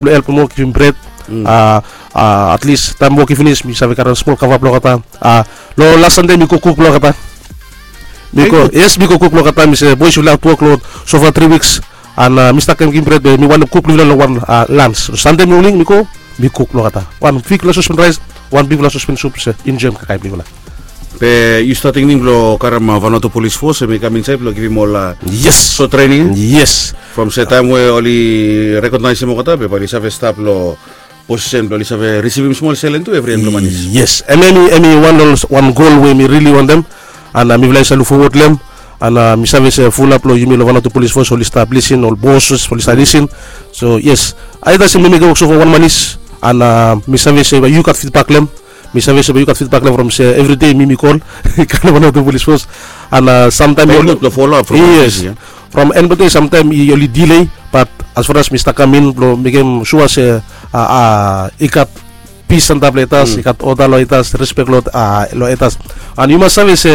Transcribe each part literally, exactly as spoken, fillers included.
blong helpem wok, givim bred. Atlis taem wok i finis mi save karem smol kava blong olgeta. Long las sande mi go kuk blong olgeta. Mi go, yes, mi go kuk blong olgeta, mi se bois yufala tu wok long sofa tri wiks. An mi stap kam givim bred be mi wantem kuk blong yufala long wan lans. Sande moning mi go, mi kuk blong olgeta. Wan bigfala sospen raes, wan bigfala sospen sup, se enjoem kakae blong yufala. Be yu stap tingting blong karem Vanuatu Polis Fos em i kam insaed blong givim ol, yes, sot trening? Yes. From se taem we oli rekognaisim olgeta be bae oli save stap long posisen blong oli save risivim smol selen tu evri en blong manis. Yes, em em i wan long wan gol we mi rili wantem. An mifala i save luk fowod long em. An mi save se fulap long yumi long Vanuatu Polis Fos oli stap lisin, ol bos oli stap lisin. So yes, aita se mi mekem wok so fo wan manis. An mi save se yu gat fidbak long em. Mi save se yu gat fidbak long em from se evri dei mi mi kol i kam long Vanuatu Polis Fos. An samtaem from enbate samtaem oli dilei, bat as far as mi stap kam in blong mekem sua se i gat pis antap long etas, i gat oda long etas, respek long etas. An yu mas save se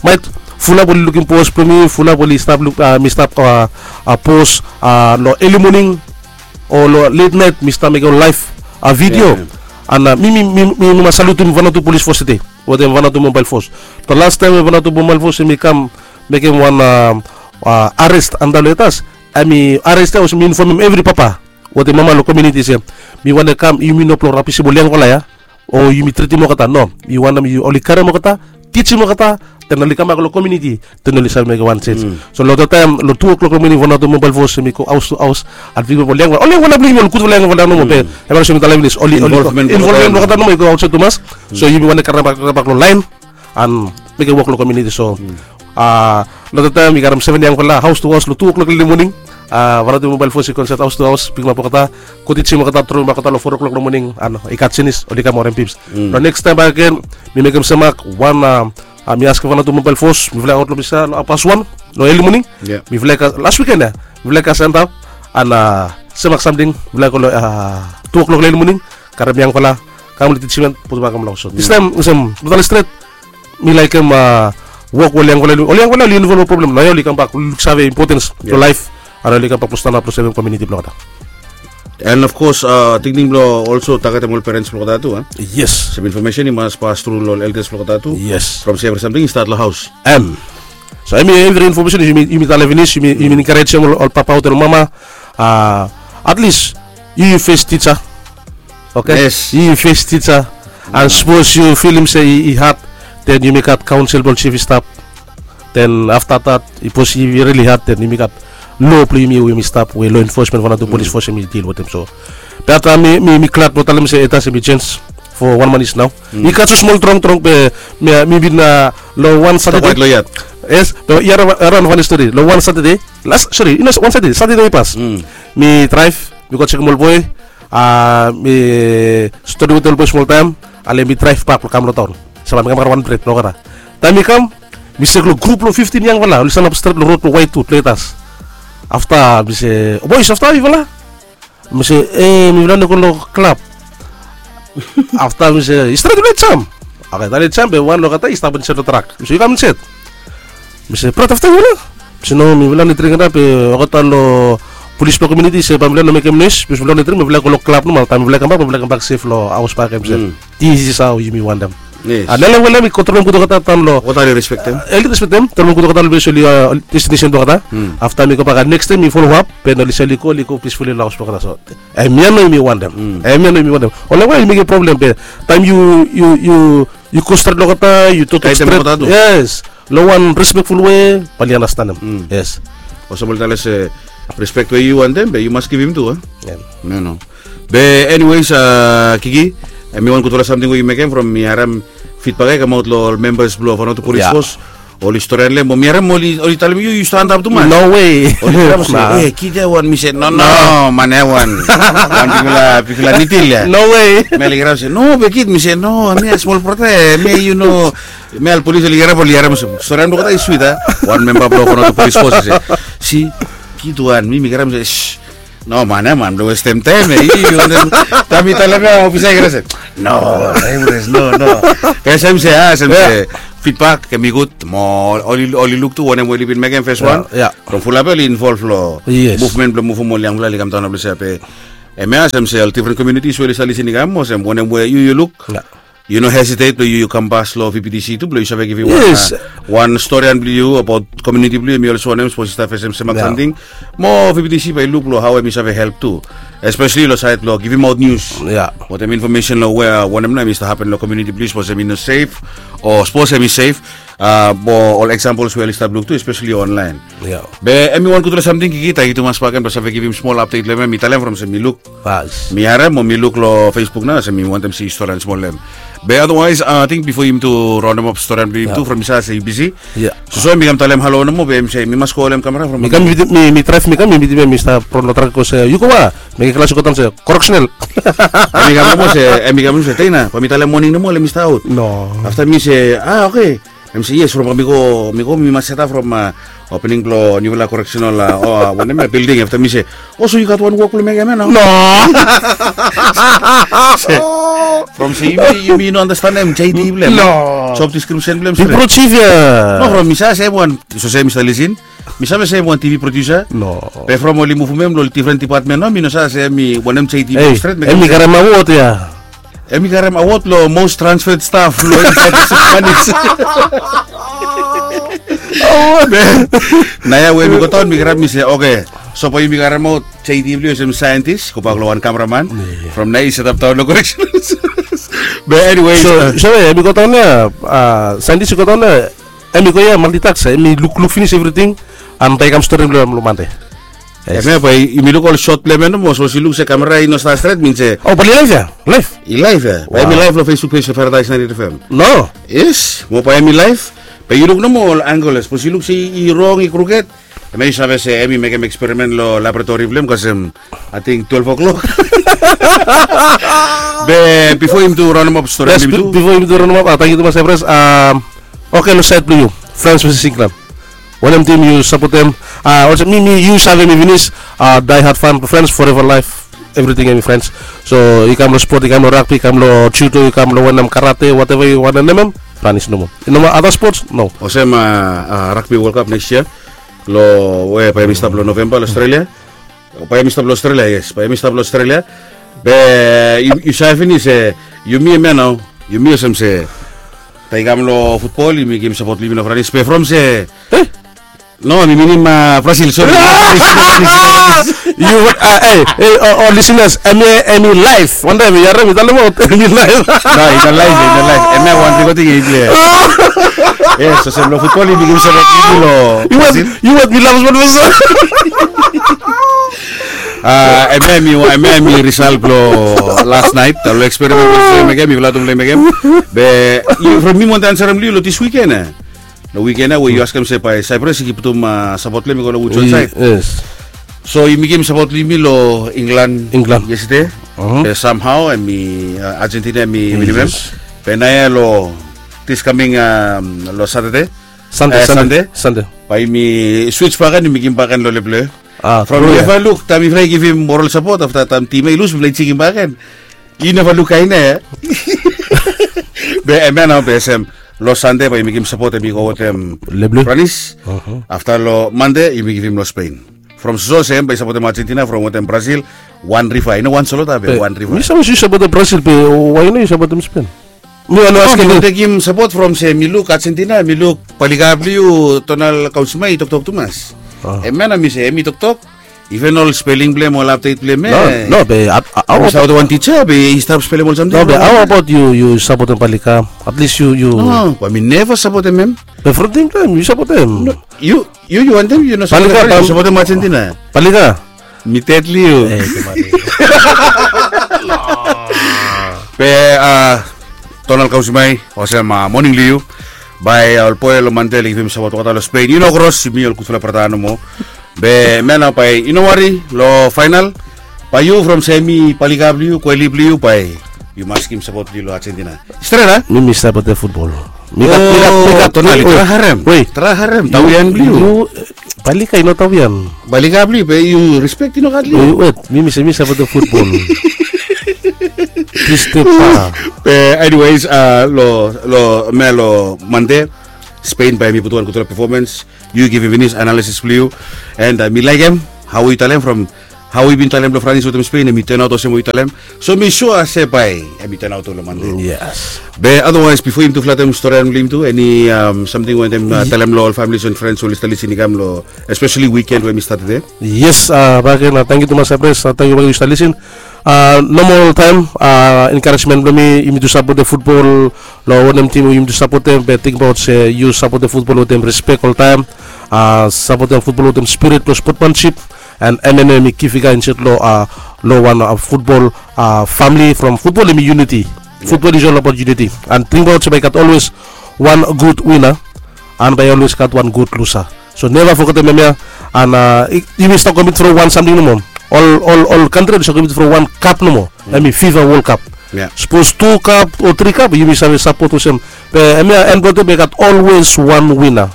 maet fulap oli lukim pos blong mi, fulap oli stap luk mi stap pos long eli moning o long let naet mi stap mekem laef vidio. An mi mi mi mi mas salutim Vanuatu Polis Fos tede wetem Vanuatu Mobael Fos. Long lastaem we Vanuatu Mobael Fos em i kam mekem wan ares antap long etas, em i ares ya olsem mi infomem evri papa wetem mama long komiuniti se mi wantem kam, yumi no blong rabisim ol yangfala ya o yumi tritim olgeta. No, mi wantem oli karem olgeta, tijim olgeta, den oli kambak long komiuniti, den oli save mekem wan sens. So long olgeta taem long tu oklok long moning Vanuatu Mobael Fos em i go haos tu haos an pikim ol yangfala, ol yangfala blong yumi, ol gudfala yangfala nomo be em i olsem mi talem finis, oli involvem blong olgeta nomo i go aotsaed tumas. So yumi wantem karem bak long laen an mekem wok long komiuniti. So long olgeta taem i karem seven yangfala haos tu haos long tu oklok long moning. Vanuatu Mobael Fos i go insaed haos tu haos, pikimap olgeta, go tijim olgeta, tromem bak olgeta long foa oklok long moning an i gat senis oli kam orem bips. Long nekis taem bakegen mi mekem semak wan, mi askem Vanuatu Mobael Fos mifala i aot long ples ya long happas wan long eli moning. Mifala i gat las wiken ya, mifala i gat antap an semak samting, mifala i go long tu oklok long eli moning, karem yangfala, kam long tijim an putum bak long haos. So distaem olsem mi talem stret, mi laekem wok we ol yangfala, ol yangfala oli involv long problem, naoia oli kambak, oli luksave impotens blong laef an oli kambak blong stanap blong sevem komiuniti blong olgeta. And of course tingting blong olso tagetem ol perens blong olgeta tu. Yes, sem infomesen i mas pas tru long ol eldas blong olgeta tu. Yes, from se evri samting i stat long haos. Em, so em i evri infomesen yumi talem finis, yumi enkarejem ol papa wetem ol mama. Atlis yu yu fes tija. Oke, yu yu fes tija. An sapos yu filim se i had, den yumi gat kaonsel blong jif i stap. Den afta dat, sapos i rili had, den yumi gat lo blong yumi we yumi stap, we lo enfosmen Vanuatu Polis Fos em i dil wetem. So be afta mi mi glad blong talem se etas em i jenj fo wan manis nao. Mi gat so smol trong trong be mi bin long wan Satade. Yes, be yaraon fani stori. Long wan Satade, las, sori, i no wan Satade, Satade i pas, mi draev, mi go jekem ol boe. Mi stodi wetem ol boe smol taem, ale mi draev bak blong kam long taon. Save mi kam karem wan bred blong olgeta. Taem mi kam, mi sek long grup blong fiftin yangfala oli stanap stret long rod blong Waet Wud long etas. Afta mi se, bois, afta yufala? Mi se, e, mifala no go long klab. Afta mi se, i stret, yufala i jam. Oke, taem i jam be wan long olgeta i stap insaed long trak. Mi se, yu kam insaed. Mi se, brat, afta yufala? Mi se, no, mifala no dring antap be olgeta long polis blong komiuniti i se bae mifala no mekem noes, bikos mifala no dring, mifala go long klab nomo, taem mifala kambak bae mifala kambak sef long haos bakegen. Mi se, this is how yumi wantem. Yes. An long wanem we mi go tromem gud olgeta daon long, oli respektem, tromem gud olgeta long ples oli destinesen blong olgeta. Afta mi go bak, nekis taem mi folo ap, be oli save oli go, oli go pisfuli long haos blong olgeta. So hemia nao yumi wantem. Hemia nao yumi wantem. Ol yangfala i mekem problem be taem yu yu yu yu go stret long olgeta, yu toktok stret. Yes, long wan respekful we bae oli anastenem. Yes. Olsem oli talem se respek we yu wantem be yu mas givim tu, a? Be eniwes, Kiki, hemi wan gudfala samting we yu mekem from mi harem fidbak ya i kamaot long ol membas blong Vanuatu Polis Fos. Oli storian long hem, mi harem oli talem yu yu stap antap tumas. No wei. Oli talem se, e, kid ya wan. Mi se, no, no, man ya wan. Wan bigfala, bigfala nitil ya. No wei. Mi oli harem se, no, be kid, mi se, no, hemia smol brata ya, hemia yu no. Mi, ol polis oli harem, oli harem olsem storian blong olgeta i swit, a? Wan memba blong Vanuatu Polis Fos i se, si, kid wan, mi mi harem se, no man ya man, blong westem taem ya. Taem mi talem ya, ofisa i harem se, no, no, no. Kasem se, a, sem se fidbak hemi gud mo oli, oli luk tu wanem we oli bin mekem fes wan. From fulap oli involv long muvmen blong muvum ol yangfala oli kamdaon long ples ya be Hemia olsem se ol difren komiunitis we oli stap lisin i kam, olsem wanem we yu yu luk, yu no hesitet blong yu yu kambas long V B T C tu blong yu save givim wan storian blong yu abaot komiuniti blong yu, hemi olsem wanem sapos i stap fesem semak samting, mo V B T C bae i luk long hao hemi save help tu, espeseli long saed blong givimaot nius, wetem infomesen long we wanem nao hemi stap hapen long komiuniti blong yu, sapos hemi no sef o sapos hemi sef. Mo ol eksampol we oli stap luk tu, espeseli onlaen. Be hemi wan gudfala samting, Kiki, tangkiu tumas bakegen blong save givim smol apdet long hem. Mi talem from se mi luk, mi harem mo mi luk long Facebook nao, se mi wantem si storian smol long hem. Be otherwise ating bifo yumi tu raonemap storian blong yumi tu, from mi save se yu bisi. Soso mi kam talem halo nomo, be hemi se mi mas go holem kamera from mi kam, mi draev mi kam, mi mitim hem, mi stap ron long trak, bikos yu go we, mekem klas i go daon se koreksenal. Hemi kam nomo se, hemi kam nomo se, Teina, bae mi talem moning nomo olsem mi stap aot. Afta mi se, a, oke. Hemi se yes, from mi go, mi go mi mas setap from opening blong niufala koreksenal, wanem ya, bilding. Afta mi se, o, so yu gat wan wok blong mekem ya nao? No. From se yumi, yumi no andastanem J D blong hem, job description blong hem stret. No, from mi save se hem wan, so se mi stap lisin, mi save se hem wan T V producer. No. Be from oli muvum hem long difren dipatmen nao, mi no save se hemi wanem J D blong hem stret. Hemi karem awod ya. Hemi karem awod long most transferred staff long Spanish. Naoia we mi go daon mi karem, mi se, oke, so bae yumi karemaot J D blong yu olsem saentis, gobak long wan kameraman. From naoia i setap daon long koreksenal. Be eniwe, so hemi go daon ya, saentis i go daon ya. Hemi go ya, maltitask, hemi lukluk finis evriting. An bae i kam stori long hem long Mande. Hemia bae yumi luk ol sot blong hem ya nomo, sapos yu luk se kamera i no stap stret, min se, o, bae i laef ya, laef. I laef ya. Bae hemi laef long Facebook page blong Paradise ninety-eight F M. No. Yes, mo bae hemi laef. Bae yu luk nomo ol angel ya, sapos yu luk se i rong, i kruked, hemia yu save se hemi mekem eksperimen long laboratori blong hem, bikos hem ating twelve o'clock. Be bifo yumi tu raonemap storian blong yumi tu, bifo yumi tu raonemap, tangkiu tumas Evres. Oke, long saed blong yu, Frans veses Inglan, wanem tim yu sapotem? Olsem mi, mi, yu save mi finis, die hard fan blong Frans, forever life, evriting hemi Frans. So i kam long spot, i kam long ragbi, i kam long judo, i kam long wanem, karate, whatever yu wantem nem hem, Frans nomo. I no moa ada spots, no. Olsem ragbi World Cup nekis yia, long we bae hemi stap long Novemba long Australia. Bae hemi stap long Australia, yes, bae hemi stap long Australia. Be yu save finis se yumi hemia nao, yumi olsem se taem i kam long futbol yumi givim sapot long yumi long Franis, be from se, no, mi minim Brasil, sori. Yu, e, e, ol lisenas, hemia hemi laef. Wantaem yu harem mi talemaot hemi laef. No, i no laef, i no laef. Hemia wan bigfala ting i plei. Yes, olsem long futbol yumi givim sapot long Brasil. Yu wet mi laf smol olsem. Hemia hemi, hemia hemi risal blong las naet, long eksperimen blong yufala tu mekem, yufala tu mekem. Be from mi mi wantem ansarem long yu long dis wiken ya. Long wiken ya we yu askem se bae Cyprus i putum sapot blong hem i go long wudson saed. So yumi givim sapot blong yumi long Inglan yestede. Be samhao hemi, Argentina hemi winim hem. Be naoia long dis kaming, long Satade, Sande, Sande, bae yumi swits bakegen, yumi givim bakegen long Lepleo. From yufala luk taem yufala i givim moral sapot afta taem tim ya i lus, mifala i jikim bakegen. Yu neva luk kaen ya. Be hemia nao be olsem, long Sande bae yumi givim sapot, hemi go wetem Lepleo, Franis. Afta long Mande yumi givim long Spain. From soso olsem bae i sapotem Argentina, from wetem Brasil, wan riva, i no wan solota be wan riva. Mi save se yu sapotem Brasil be why i no yu sapotem Spain? Mi wan askem. Mi tekem sapot from se mi luk Argentina, mi luk palika blong yu Donald Kausima i toktok tumas. Hemia nao mi se hemi toktok. Iven ol speling blong hem, ol apdet blong hem, e. No, no, be hao abaot wan tija be i stap spelem ol samting. No, be hao abaot yu, yu sapotem palika? At least yu, yu. No, bae mi neva sapotem hem. Be from taem blong hem yu sapotem. Yu, yu, yu wantem yu no sapotem palika, yu sapotem Argentina. Palika. Mi ded long yu. Be Donald Kausimai, olsem moning long yu. Bae ol boe long Mande oli givim sapot olgeta long Spain. Yu no kros, yumi ol gudfala brata nomo. Be hemia nao bae yu no wari long faenal. Bae yu from se hemi palika blong yu, kweli blong yu, bae yu mas givim sapot blong yu long Argentina. Stret a? Mi, mi sapotem futbol. Mi gat, mi gat, mi gat. Donald, trae harem. Wet. Trae harem tawian blong yu. Palika i no tawian. Palika blong yu be yu rispek i no gat long yu. Wet, mi, mi se mi sapotem futbol. Plis step. Be anyways, long, long, hemia long Mande, Spain bae hemi putum wan gudfala performance. Yu givim finis analisis blong yu. And mi laekem hao yu talem from hao i bin talem long Franis wetem Spen, em i tenaot olsem we i talem. So mi sua se bae em i tenaot long Mande. Yes. Be otherwise, bifo yumi tu flatem storian blong yumi tu, eni samting we yumi talem long ol familis and friends we oli stap lisin i kam long, especially weekend we mi stat de? Yes, baken, tangkiu tumas Epres, tangkiu baken yu stap lisin. Nomol taem, encouragement blong mi, yumi tu sapotem futbol long wanem tim we yumi tu sapotem, be tingbaot se yu sapotem futbol wetem respek oltaem. Sapotem futbol wetem spirit blong spotmansip. And hemia nao hemi ki figa insaed long wan futbol famili, from futbol hemi uniti. Futbol is all about uniti. And tingbaot se bae i gat olwes wan gud wina, and bae i olwes gat wan gud lusa. So neva fogetem hemia. And yumi stap kompit from wan samting nomo. Ol kantri oli stap kompit from wan kap nomo, hemi FIFA World Cup. Sapos tu kap o tri kap, yumi save sapot olsem. Be hemia en blong olgeta bae i gat olwes wan wina.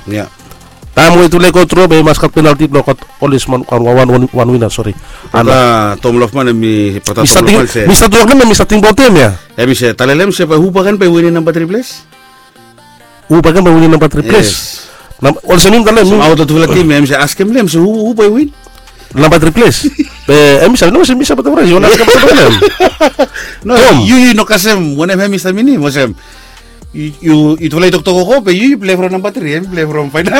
Taem we tufala i go tru, be i mas gat penalti blong gat olwes wan wina, sori. Ana Tom Lofman, hemi brata Tom Lofman se, mi stat wok long hem, mi stat tingbaot hem ya. Hemi se talem se bae hu bakegen bae i winim namba tri ples? Hu bakegen bae i winim namba tri ples? Olsem mi talem, hao long tufala tim ya, hemi se askem long hem se hu bae i win namba tri ples? Be hemi save, no, se mi sapotem Franis, yu wantem askem olsem wanem? No, yu, yu no kasem wanem hemi stap minim, olsem. Yu, yu, yutufala i toktok wok, be yu, yu plei from namba tri, hemi plei from faenol.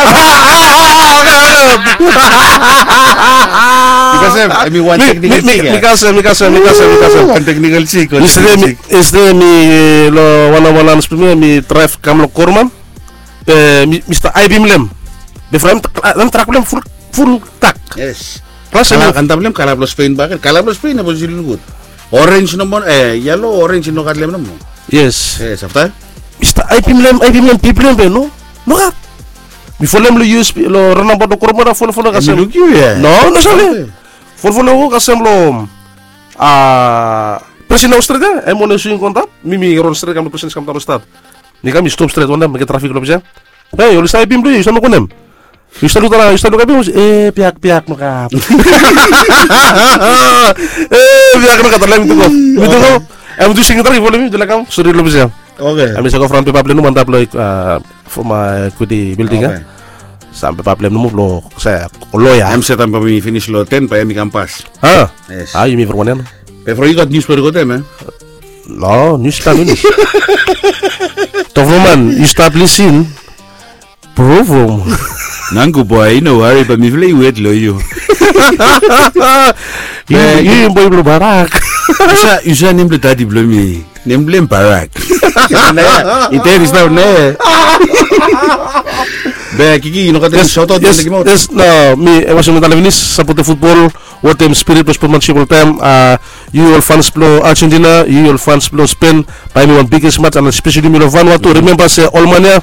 Mi kasem, hemi wan teknikol sik ya. Mi kasem, mi kasem, mi kasem, mi kasem. Wan teknikol sik, wan teknikol sik. Yestede mi, long wan namba wan blong mi, mi draev kam long Koroman. Be mi stap aebim long hem. Be from hem, hem trak blong hem ful, ful tak. Yes. Klas, kala, antap long hem kala blong Spen bakegen. Kala blong Spen, hemi luk gud. Orenj nomo, e, yelo, orenj, i no gat long hem nomo. Yes. Yes, afta? Mi stap aebim long hem, aebim long hem, pipol long hem be no, nogat. Mi folem long U S B, long raonabaot long Koromora, folem, folem kasem. Hemi luk yu ya? No, no save. Folem, folem kasem long, a, President Haus stret ya, hem wanem swing go antap, mi, mi ron stret kam long President, kam daon long stad. Mi kam, mi stop stret, wantem mekem trafik long ples ya. Hei, oli stap aebim blong yu, yu stap luk wanem? Yu stap luk, yu stap luk aebim, e, biak, biak nogat. E, biak nogat, talem mi tu go. Mi tu go. Hem tu sing, tara, i folem mi, tu laik kam sore long ples ya. Oke. Hemi save go from pepa blong hem nomo antap long, a, from, a, Equity Building ya. Oke. Sam pepa blong hem nomo blong se loea. Hem se taem bae mi finis long ten, bae hemi kam pas. A? Yes. A, yumi from wanem? Be from yu gat nius blong yu go tem, e? No, nius kam finis. Tofroman, yu stap lisin. Provum. Nangku boe, i no wari, be mifala i wet long yu. Yu, yu boe blong Barak. Yu save, yu save nem blong dadi blong mi. Nem blong hem Barak. I teri stap ne. Be Kiki, yu no gat eni saotaot? Yes, yes, no, mi, e, olsem mi talem finis, sapotem futbol wetem spirit blong spotmansip oltaem. A, yu ol fans blong Argentina, yu ol fans blong Spen, bae hemi wan biges mats, and especially yumi long Vanuatu. Rimemba se ol man ya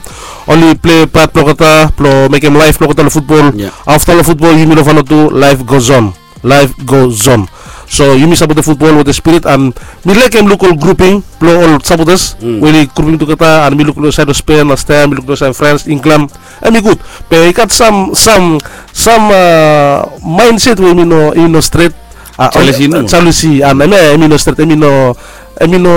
oli plei pat blong olgeta blong mekem laef blong olgeta long futbol. Afta long futbol, yumi long Vanuatu, life goes on. Life goes on. So yumi sapotem futbol wetem spirit, and mi laekem luk ol gruping blong ol sapotas we oli gruping tugeta, and mi luk long saed blong Spen, Austria, mi luk long saed Frans, Inglan, hemi gud. Be i gat sam, sam, sam, a, maenset we hemi no, hemi no stret. A, jealousy, no? Jealousy, and hemia hemi no stret, hemi no, hemi no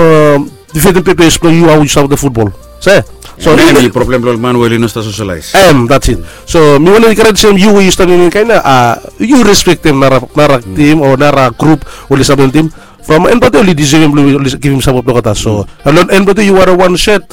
difentem pepes blong yu, hao yu sapotem futbol. Se? So hemia hemi problem blong ol man we oli no stap sosialaes. Em, that's it. So mi wantem enkarejem yu we yu stap long eni kaen ya, a, yu respektem nara, nara tim o nara grup we oli stap long tim. From en blong olgeta oli disevem blong oli givim sapot blong olgeta. So long en blong olgeta yu werim wan set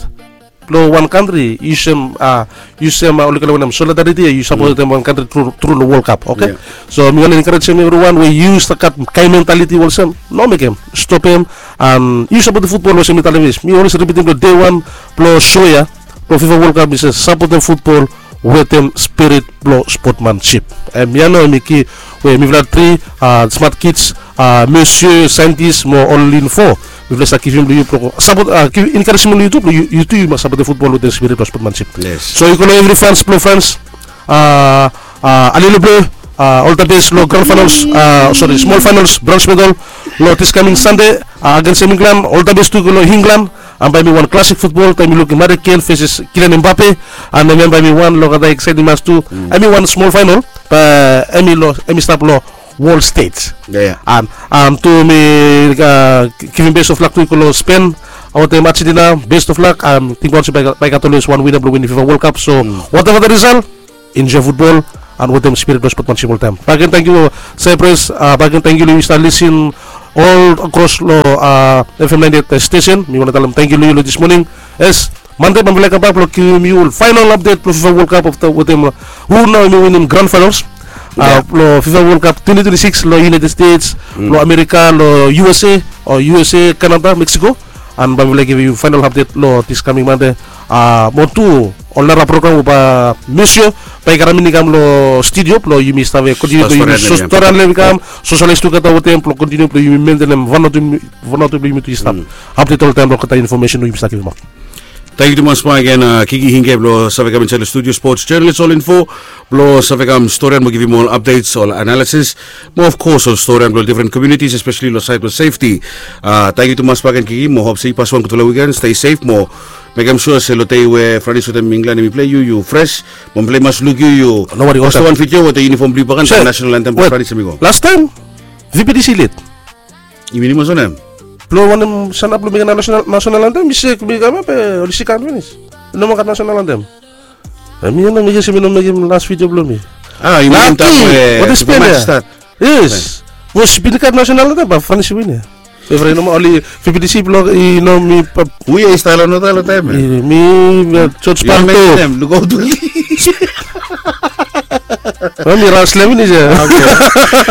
blong wan kantri, yusum, a, yusum, a, oli kolem wanem, solidariti, yu sapotem wan kantri tru, tru long World Cup, oke? So mi wantem enkarejem evriwan we yu stap gat kaen mentaliti olsem, no mekem, stopem. And yu sapotem futbol olsem mi talem finis. Mi olwes ripitim long dei wan blong so ya, blong FIFA World Cup, mi se sapotem futbol wetem spirit blong spotmansip. Hemia nao hemi ki we mifala tri, a, smat kids, a, Monsieur Scientist mo ol info, mifala stap givim long yu blong sapot, a, givim enkarejem long yu tu blong yu, yu tu yu mas sapotem futbol wetem spirit blong spotmansip. Yes. So yu go long evri fans blong Frans, a, a, Allez les Bleus, a, ol the best long grand finals, a, sori, small finals, bronze medal long this coming Sunday, a, against England, ol the best tu go long England. And bae hemi wan klasik futbol, taem yu lukim Harry Kane versus Kylian Mbappe. And hemia bae hemi wan long olgeta exciting mats tu. Hemi wan small final, be hemi long, hemi stap long world stage. And, and tu mi, a, givim best of luck tu i go long Spain wetem Argentina, best of luck. And tingbaot se bae, bae i gat olwes wan wina blong winim FIFA World Cup. So whatever the result, enjoy futbol, an wetem spirit blong spotmansip oltaem. Bakegen tangkiu Cyprus, bakegen tangkiu long yu stap lisin ol akros long F M ninety eight station. Mi wantem talem tangkiu long yu long dis moning. Yes, Mande bae mifala i kambak blong givim yu faenol apdet blong FIFA World Cup wetem hu nao hemi winim grand finals long FIFA World Cup twenty twenty-six long United States, long Amerika, long U S A, o U S A, Canada, Mexico. An bae mifala i givim yu faenol apdet long dis kaming Mande. Mo tu ol nara program we bae Mesio bae i karem i kam long studio blong yumi stap kontiniu blong yumi storian long hem i kam, sosialaes tugeta wetem blong kontiniu blong yumi mentenem wan o tu blong yumi tu i stap apdet oltaem long olgeta infomesen we yumi stap givimaot. Tangkiu tumas bakegen Kiki Hinge blong save kam insaed long studio, sports journalist, ol info blong save kam storian mo givim ol apdets, ol analisis, mo of kos ol storian blong difren komunitis, espeseli long saed blong sefti. Tangkiu tumas bakegen Kiki, mo hop se i paswan gudfala wiken, stei sef mo mekem sua se long dei we Franis wetem Inglan hemi plei, yu yu fres, mo mifala i mas luk yu yu postem wan vidio wetem yunifom blong yu bakegen, nasenal antem blong Franis hemi go. Lastaem V P T C led. I minim olsem wanem? Blong wanem sanap blong mekem nasenal antem i sek, mi kam ia be oli sikan finis. I no moa gat nasenal antem. Hemi ia nao mi gesi mi no mekem las vidio blong mi. A, yu minim taem we watem spen ia? Yes. Bikos i bin gat nasenal antem bae Franis i win ia. Evri no moa oli V P T C blong i no mi. Hu ia i stap long oltaem ia? Mi George Parto. Lukaot oli. Mi ras lem finis ia. Oke.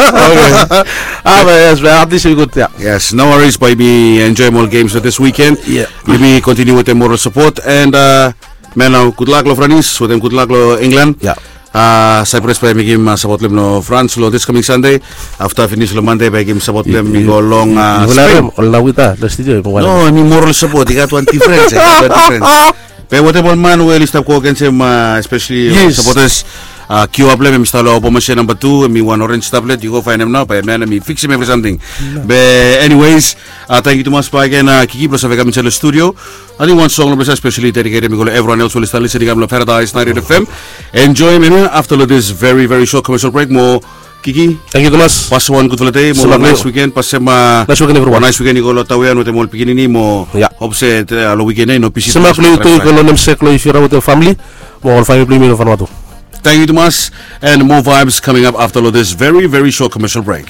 Oke. A, be yes, be at least we good ia. Yes, no worries, bae yumi enjoem ol games long dis wiken. Yumi kontiniu wetem moral sapot and man, nao gudlak long Franis wetem gudlak long Inglan. Cyprus bae i mekem sapot blong hem long Frans long dis kaming Sande. Afta finis long Mande bae i givim sapot blong hem i go long Spen. Ol nao wit a long studio. No, hemi moral sapot, i gat wan difrens, i gat wan difrens. Be wetem ol man we oli stap go agensem, espeseli ol sapotas, kiu blong hem hemi stap long Obomasia namba tu, hemi wan orenj tablet, yu go faenem nao, bae man hemi fiksim evri samting. Be anyways, tangkiu tumas bakegen Kiki blong save kam insaed long studio. Ating wan song long ples ia espeseli dediketem i go long evriwan els we oli stap lisin i kam long Paradise ninety eight F M. Enjoem hemia afta long dis veri veri sot commercial break mo Kiki. Tangkiu tumas. Pasem wan gudfala dei mo wan naes wiken. Pasem wan naes wiken i go long Tawean wetem ol pikinini mo hop se long wiken ia i no bisi. Sema blong yu tu i go long namesake long Ifira wetem famili mo ol famili blong yumi long Vanuatu. Tangkiu tumas and more vibes coming up after long this very very short commercial break.